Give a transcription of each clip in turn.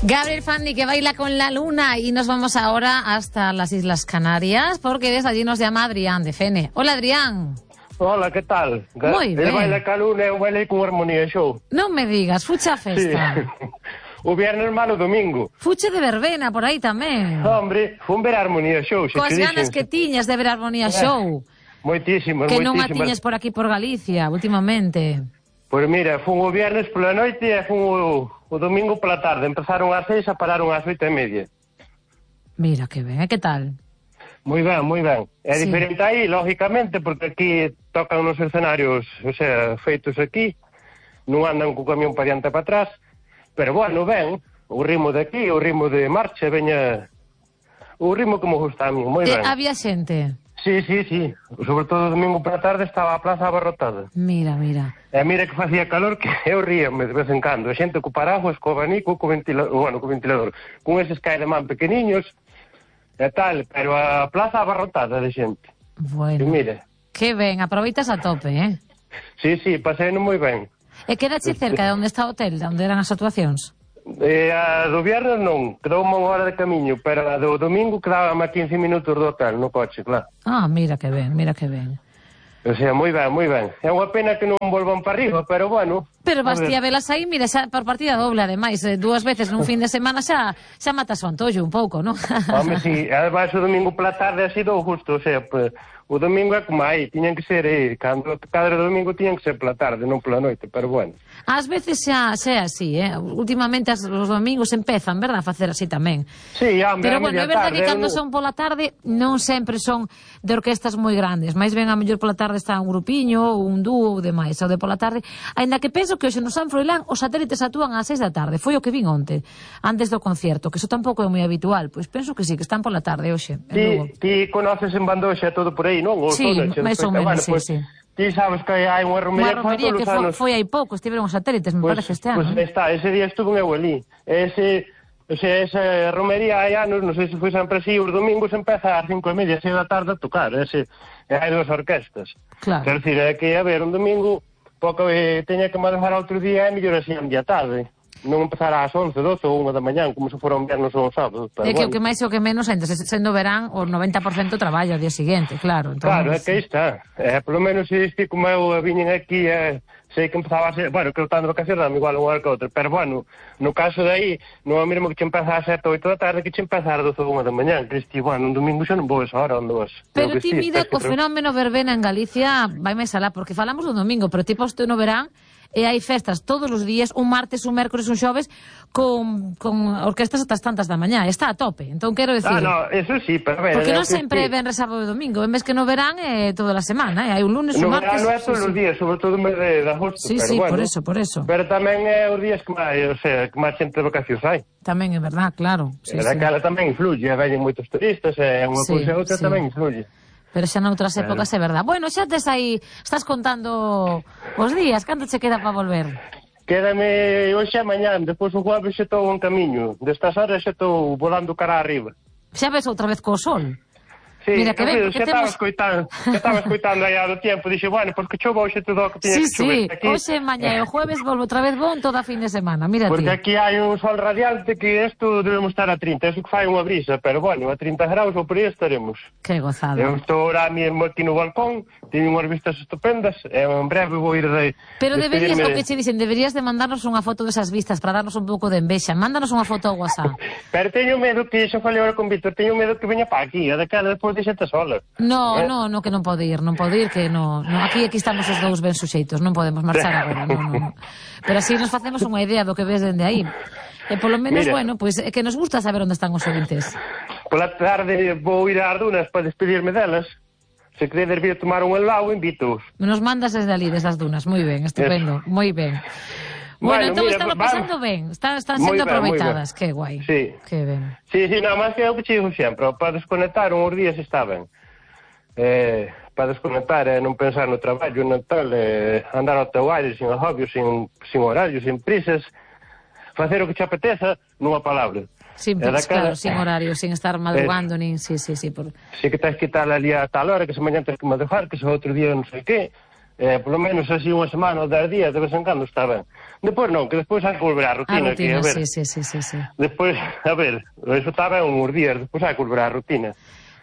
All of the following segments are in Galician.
Gabriel Fanny, que baila con la luna, y nos vamos ahora hasta las Islas Canarias porque desde allí nos llama Adrián de Fene. Hola, Adrián. Hola, que tal? Moi ben. El baila ca luna e eu bailei con Armonía Show. Non me digas, fuche a festa. Sí. O viernes malo domingo. Fuche de verbena por aí tamén. Hombre, fun ver Armonía Show. Coas ganas que tiñas de ver Armonía Show. Moitísimas, que non a moitísimas. tiñas por aquí por Galicia últimamente. Pois mira, fun o viernes pola noite e fun o domingo pola tarde. Empezaron ás 6 e pararon ás 8:30. Mira, que ben, que tal? Moi ben, moi ben. É Sí. diferente aí, lógicamente, porque aquí tocan nos escenarios, o sea, feitos aquí, non andan co camión para diante e para atrás, pero bueno, ben, o ritmo de aquí, o ritmo de marcha, veña, o ritmo que me gusta a mí, moi ben. Había xente? Sí, sí, sí, sobre todo o domingo para a tarde estaba a plaza abarrotada. Mira, mira. E mira que facía calor que eu ríame de vez en cando, a xente co paraguas, co abanico, co ventilador, con eses caelemán pequeniños, e tal, pero a plaza abarrotada de xente. Bueno, E mire, que ben, aproveitas a tope, eh? sí, sí, paseino moi ben. E quedache cerca de onde está o hotel, de onde eran as actuacións? A do viernes non, quedoume unha hora de camiño, pero a do domingo quedábame a 15 minutos do hotel, no coche, claro. Ah, mira que ben, mira que ben. O sea, moi ben, moi ben. É unha pena que non volvan para arriba, pero bueno. Pero vas a ver. ti a velas aí, mira, xa por partida doble, ademais, dúas veces nun fin de semana xa matas o antollo un pouco, non? Home, si, ademais o domingo pola tarde ha sido justo, o sea, pues, o domingo é como aí, tiñan que ser, cada domingo tiñan que ser pola tarde, non pola noite, pero bueno. Ás veces xa é así, últimamente os domingos empezan, verdad, a facer así tamén. Sí, hombre, pero a bueno, media é verdad tarde, que cando son pola tarde non sempre son de orquestas moi grandes, máis ben a mellor pola tarde está un grupiño, un dúo ou demais, ou de pola tarde, aínda que penso que hoxe no San Froilán os satélites actúan ás 6 da tarde, foi o que vin onte, antes do concierto, que iso tampouco é moi habitual, pois penso que sí, que están pola tarde hoxe. Ti conoces en Bandoxa todo por aí, non? Sí, máis ou menos, sí, sí. Ti sabes que hai unha romería que foi hai pouco, estiveron os satélites, me parece este ano. Pois está, ese día estuve eu ali. Esa romería hai anos, non sei se foi sempre así, os domingos empeza ás 5:30, 6 da tarde a tocar, hai dúas orquestas. Claro. Quer dizer, é que, a ver, un domingo, pouco teña que manejar outro día, é mellor así a media tarde. Non empezar ás 11, 12 ou 1 da mañán, como se fora un viernes ou un sábado. É que o que máis e o que menos, sendo verán, o 90% traballa o día seguinte, claro. Entón, claro, é que aí está. Polo menos se este como eu viñen aquí, sei que empezaba a ser, bueno, que eu estando de vacacións dame igual unha hora que outra, pero bueno, no caso de aí, non é o mesmo que che empeza a 7 ou 8 da tarde que che empeza a 12 ou 1 da mañán, que este, bueno, un domingo xa non vou esa hora onde vas. Pero ti mira, o fenómeno verbena en Galicia vai máis alá, porque falamos do domingo, pero ti posto no verán, e hai festas todos os días, un martes, un mércores, un xoves, con orquestas ata as tantas da mañá, está a tope. Entón quero decir... no, eso sí, pero... Porque non sempre ven sábado e domingo, en vez que no verán toda a semana, hai un lunes, un martes... No verán non é todos os días, sobre todo o mes de agosto, sí, pero sí, bueno. por eso. Pero tamén é os días que máis, o sea, que máis xente de vacacións hai. Tamén é verdad, claro. Sí, daquela tamén influye, veñen moitos turistas, e unha cousa e outra tamén influye. Pero xa noutras épocas é verdad. Bueno, xa tes aí, estás contando os días, canto che queda para volver? Quédame hoxe e mañán, depois o jueves xa estou en camiño. Destas horas xa estou volando cara arriba. Xa ves outra vez co sol? Sí, mira que ben, xa estaba escoitando aí do tempo, dixe, bueno, pois que chova hoxe todo o que tiña que chover. Sí, hoxe, mañá e o jueves volvo outra vez bon toda a fin de semana, mira porque ti. Aquí hai un sol radiante que isto debemos estar a 30, eso que fai unha brisa, pero bueno, a 30 graus ou por aí estaremos. Que gozada. Eu estou ahora mesmo aquí no balcón, teño unhas vistas estupendas, e en breve vou ir de... Pero deberías, o que che dicen, deberías de mandarnos unha foto desas vistas para darnos un pouco de envexa. Mándanos unha foto ao WhatsApp. Pero teño medo que, xa falei agora con Víctor, teño medo que veña para aquí, a daquela despois de xente sola. No, que non pode ir, que no. Aquí estamos os dous ben suxeitos, non podemos marchar agora, non. Pero así nos facemos unha idea do que ves dende aí. E polo menos, mira, bueno, pois é que nos gusta saber onde están os ouvintes. Pola tarde vou ir ás dunas para despedirme delas. Se queredes vir a tomar un helado, invito-os. Nos mandas desde ali, desde as dunas, moi ben, estupendo, moi ben. Bueno, entón están pasando ben, están sendo aproveitadas, que guai. Sí. Que ben. Sí, nada máis que é o que che digo sempre, para desconectar uns días está ben. Para desconectar e non pensar no traballo, no tal, andar ao teu aire, sin agobios, sin horarios, sin prisas, facer o que te apeteza, nunha palabra. Claro, sin horario, sin estar madrugando, nin... Sí. Si que tens que estar ali a tal hora, que se mañan tens que madrugar, que se outro día non sei que, Por lo menos así unha semana ou 10 días, de vez en cando está ben. Depois non, que despois hai que volver á rutina. A rutina, que, a ver, sí. Despois, a ver, eso está ben uns días, despois hai que volver á rutina.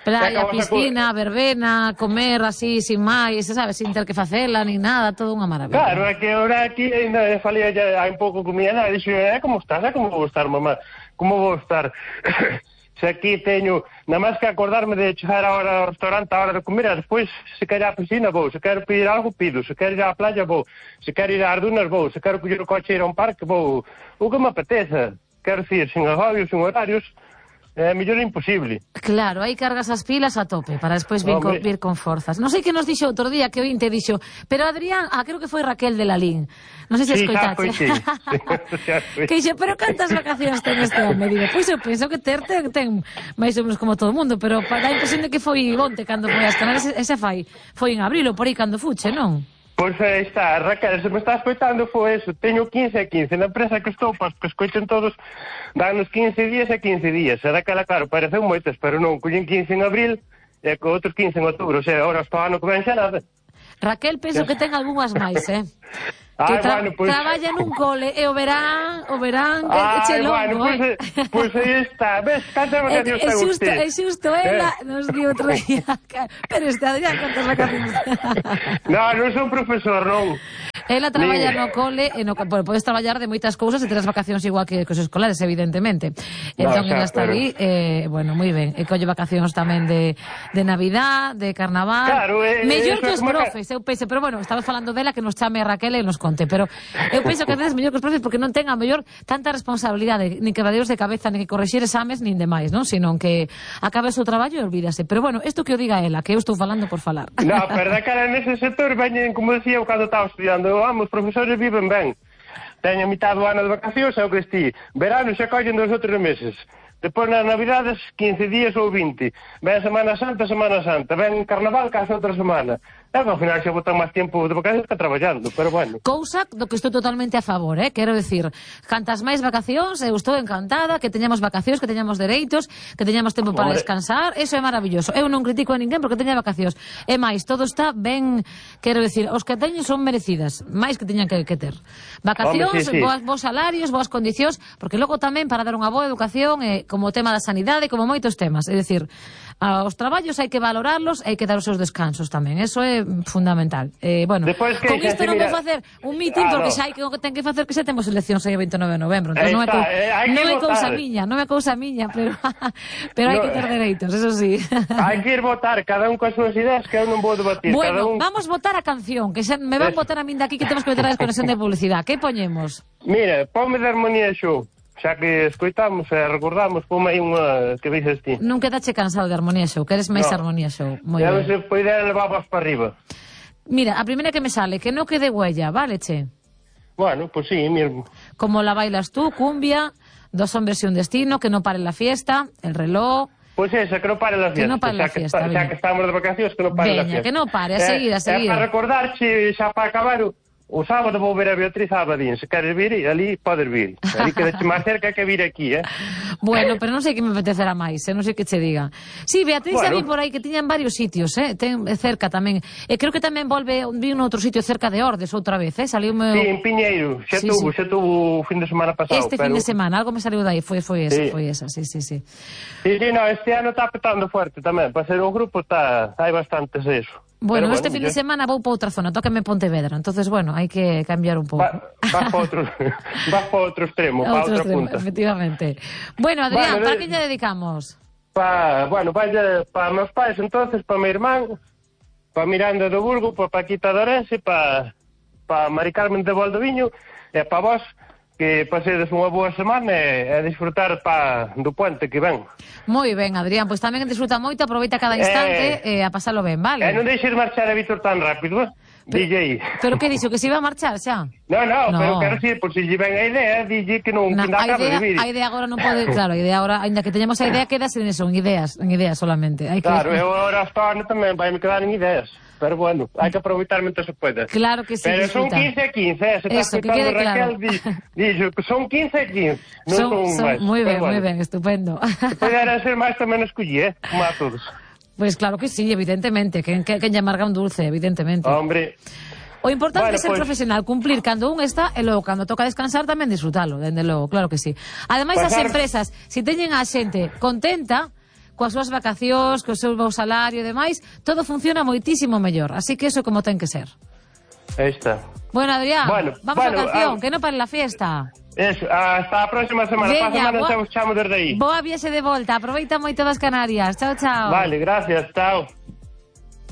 Playa, piscina, verbena, comer así, sin máis, sabes, sin ter que facela, ni nada, todo unha maravilla. Claro, é que ahora aquí ainda falía ya hai un pouco comida, e dixo, como estás? Como vou estar, mamá? Como vou estar? Se aquí teño, nada máis que acordarme de chegar a hora ao restaurante a hora de comer, e despois, se quero a piscina, vou, se quero pedir algo, pido, se quero ir á playa, vou, se quero ir ás dunas, vou, se quero coller o coche e ir a un parque, vou, o que me apeteza, quero dicir, sin agobios, sin horarios, é mellor imposible. Claro, aí cargas as pilas a tope para despois vir con forzas. Non sei que nos dixo outro día, que ointe dixo, pero Adrián, creo que foi Raquel de Lalín. Non sei se escoitaste. Sí. Que dixo, pero cantas vacacións ten este home? Digo, pois eu penso que ten máis ou menos como todo o mundo, pero dá a impresión de que foi onte cando foi as Canarias, ese foi en abril ou por aí cando fuche, non? Pois aí está, Raquel, se me está escoitando foi eso, teño 15 e 15, na empresa que estou, para que escoiten todos, danos 15 días e 15 días, e daquela, claro, pareceu moitas, pero non, collen 15 en abril e co outros 15 en outubro, o sea, ahora está ano que ven xa nada. Raquel, penso que ten algunhas máis, que traballa nun cole e o verán che longo, pois aí está, ves, cantas vacacións ten usted? É xusto, ela nos di outro día, pero este Adrián, cantas vacacións? Non son profesor, non. Ela traballa no cole, podes traballar de moitas cousas e ter as vacacións igual que os escolares, evidentemente. Entón, ela está ali, bueno, moi ben, e colle vacacións tamén de Navidad, de Carnaval. Claro, mellor que os profes, eu penso, pero bueno, estaba falando dela, que nos chame a Raquel e nos conte, pero eu penso que a veces mellor que os profes porque non ten a mellor tanta responsabilidade, nin quebraderos de cabeza, nin que correxir exames, nin demais, non? Sino que acabe o seu traballo e olvídase. Pero bueno, isto que o diga ela, que eu estou falando por falar. No, pero da cara nese sector veñen, como decía eu cando estaba estudiando, os profesores viven ben. Teñen mitad do ano de vacacións, é o que esti. Verano xa collen 2 ou 3 meses. Depois nas Navidades, 15 días ou 20. Ven Semana Santa. Ven Carnaval, case outra semana. E ao final xa botan máis tempo de vacacións que traballando, pero bueno. Cousa do que estou totalmente a favor, quero decir, cantas máis vacacións, eu estou encantada, que teñamos vacacións, que teñamos dereitos, que teñamos tempo para descansar, eso é maravilloso. Eu non critico a ninguén porque teña vacacións. E máis, todo está ben, quero decir, os que teñen son merecidas, máis que teñan que ter. Vacacións, sí. Bons salarios, boas condicións, porque logo tamén para dar unha boa educación, como o tema da sanidade, como moitos temas, é dicir, os traballos hai que valorarlos, hai que dar os seus descansos tamén, eso é fundamental. Bueno, con isto non vou facer un mitin porque xa hai que ten que facer que xa temos eleccións aí o 29 de novembro, entón non é cousa miña, pero hai que ter dereitos, eso sí. Hai que ir votar, cada un coas súas ideas, que eu non vou debatir. Bueno, vamos votar a canción, que xa me van votar a min daqui que temos que meter a desconexión de publicidade. Que poñemos? Mira, ponme de Armonía Show. Xa que escoitamos e recordamos, pome aí unha que dices ti. Non quedache cansado de Armonía Show, queres máis Armonía Show. Moi ben. Se poder levar para arriba. Mira, a primeira que me sale, que no quede huella, vale, che? Bueno, pues sí, mismo. Como la bailas tú, cumbia, 2 hombres y un destino, que no pare la fiesta, el reloj... Pues esa, que no pare la fiesta. Que no pare la fiesta, xa que estamos de vacacións, que no pare la fiesta. Que no pare, a seguir. É para recordar, xa para acabar... O sábado vou ver a Beatriz Abadín. Se queres vir, ali podes vir. Ali quedaste máis cerca que vir aquí, Bueno, pero non sei que me apetecerá máis, non sei que che diga. Sí, Beatriz xa vi por aí que tiñan varios sitios, ten cerca tamén. E creo que tamén vi un outro sitio cerca de Ordes outra vez, saliume... Sí, en Piñeiro, xa tuvo o fin de semana pasado. Fin de semana, algo me saliu dai, foi esa, sí. Sí, no, este ano está petando fuerte tamén, para ser un grupo hai bastantes eso. Bueno, este fin de semana vou para outra zona, tócame Pontevedra, entonces, bueno, hai que cambiar un pouco. Vas para outro extremo, para outra punta. Efectivamente. Bueno, Adrián, para que lle dedicamos? Para meus pais, entonces, para mi irmán, para Miranda do Burgo, para Paquita de Orense, para Mari Carmen de Valdoviño, e para vos, que pasedes unha boa semana e disfrutar do puente que ven. Moi ben, Adrián, pois tamén disfruta moito, aproveita cada instante a pasalo ben, vale? E non deixes marchar a Víctor tan rápido, DJ. Pero que dixo, que se iba a marchar xa? No, pero quero dicir, por si lle ven a idea, DJ que non acaba de vir. A idea agora non pode, claro, a idea agora, ainda que teñamos a idea, quedas en eso, en ideas solamente. Claro, eu agora hasta ano tamén vai me quedar en ideas. Pero bueno, hai que aproveitar mentre se pueda. Claro que sí. Pero son 15 a 15, se está escutando Raquel, dixo que son 15 a 15, non son máis. Moi ben, estupendo. Se pudera ser máis tamén escollí, como a todos. Pois claro que sí, evidentemente, que lle amarga un dulce, evidentemente. Hombre, O importante é Bueno, ser profesional, cumplir cando un está e logo cando toca descansar tamén disfrutalo, dende logo, claro que sí. Ademais, as empresas, se teñen a xente contenta coas súas vacacións, co seu salario e demais, todo funciona moitísimo mellor. Así que eso é como ten que ser. Aí está. Bueno, Adrián, vamos á canción, que non pare la fiesta. Eso, hasta a próxima semana. Veña, Pasamos desde aí. Boa viaxe de volta, aproveita moito das Canarias. Chao, chao. Vale, gracias, chao.